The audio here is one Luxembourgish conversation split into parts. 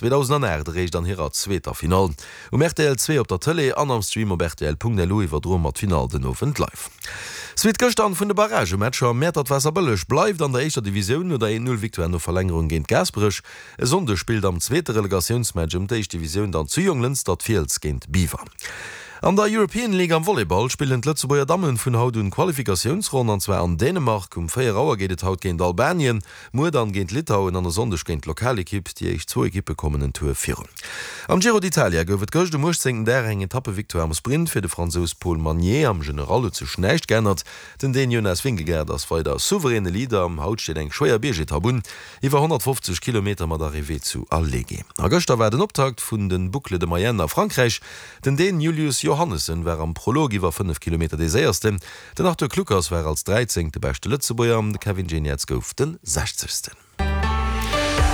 2008 eréischt an hirer zweeter Finall. Um rtl 2 op der Tëlee an am Stream op rtl.lu iwwerdroe mer d'Finall den Owend live. Suite gëschter an vun de Barragematcher, Mäertert-Waasserbëlleg bleift an der éischter Divisioun no der 1, 0 Victoire no Verlängerung géint Gaasperech. E Sonndeg spillt am zweete Relegatiounsmatch ëm d'éischt Divisioun dann zu Jonglënster d'Fiels géint Biwer. An der European League am Volleyball spillen d'Lëtzebuerger Dammen vun haut un d'Qualifikatiounsronn an zwar an Dänemark. Um 4 Auer geet et haut géint Albanien, muer dann géint Litauen an e Sonndeg géint d'Lokalekipp. Déi éischt zwou Ekippe kommen en Tour virun. Am Giro d'Italia gouf et gëscht um 18. Dag eng Etappevictoire am Sprint fir de Fransous Paul Magnier. Am General huet sech näischt geännert. Den Dän Jonas Vingegaard ass weider souveräne Leader. Haut steet eng schwéier Biergetapp un. Iwwer 150 Kilometer mat Arrivée zu Alleghe. A gëschter war den Optakt vun den Boucles de Mayenne a Frankräich. Den Dän Julius Johannessen war am Prolog iwwer 5 Kilometer dee séiersten. Den Arthur Kluckers war als dräizéngte beschte Lëtzebuerger an de Kevin Geniets gouf den sechzegsten.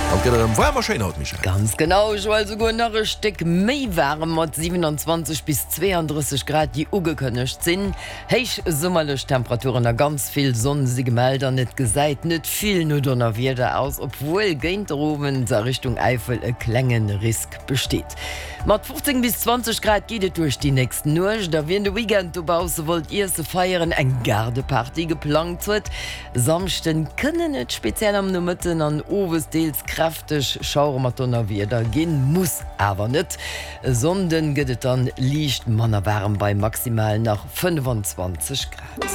An et gëtt erëm waarm a schéin haut, Michèle. Ganz genau, Joël, souguer nach e Stéck méi waarem mat 27 bis 32 Grad, déi ugekënnegt sinn. Héich summerlech Temperaturen a ganz vill Sonn si gemellt an et gesäit net vill no Donnerwieder aus, obwuel géint der Owend a Richtung Äifel e klenge Risk besteet. Mat 15 bis 20 Grad geet et duerch déi nächst Nuecht a wien de Weekend dobausse wollt iesse, feieren, eng Gaardeparty geplangt huet, Samschden kënnen et speziell am Nomëtten an owes deels kräfteg Schauere mat Donnerwieder ginn, muss awer net. E Sonnden gëtt et dann liicht manner waarem bei maximal nach 25 Grad.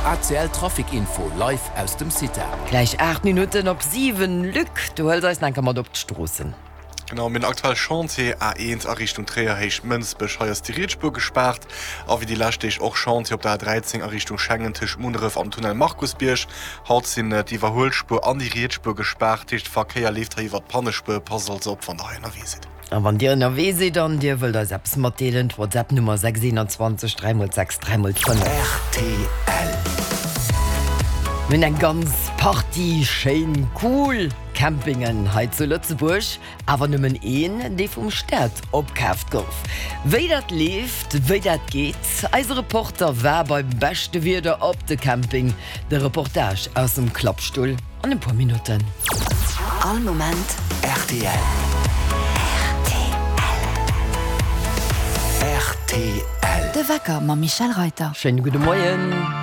ACL Trafic Info live aus dem CITA. Gläich 8 Minutten op 7. Luc, du hëls eis nach eng Kéier mat op d'Stroossen. Genau, mir hunn aktuell Chantier A1 a Richtung Tréier, Héicht Mënsbech. Hei ass déi riets Spuer gespaart. A wéi déi lescht Deeg och Chantier op der A13 a Richtung Schengen tëscht Munneref an Tunnel Markusbierg. Haut sinn d'Iwwerhuelspuer an déi riets Spuer gespaart, dat heescht de Verkéier leeft hei iwwert d'Pannespuer. Passt also op wann der hei ënnerwee sidd. A wann Dir ënnerwee sidd an Dir wëllt eis eppes matdeelen, d'Whatsapp Nummer 6 21 3 x 6 3 x 5. Rtl. Mir hunn eng ganz Partie schéin, cool Campingen hei zu Lëtzebuerg, awer nëmmen een, dee vum Staat opkaaft gouf. Wéi dat leeft, wéi dat geet, eise Reporter war beim beschte Wieder op de Camping. De Reportage aus dem Klappstull an e puer Minutten. All Moment rtl. Rtl. De Wecker mam Michèle Reyter. Schéine gudde Moien.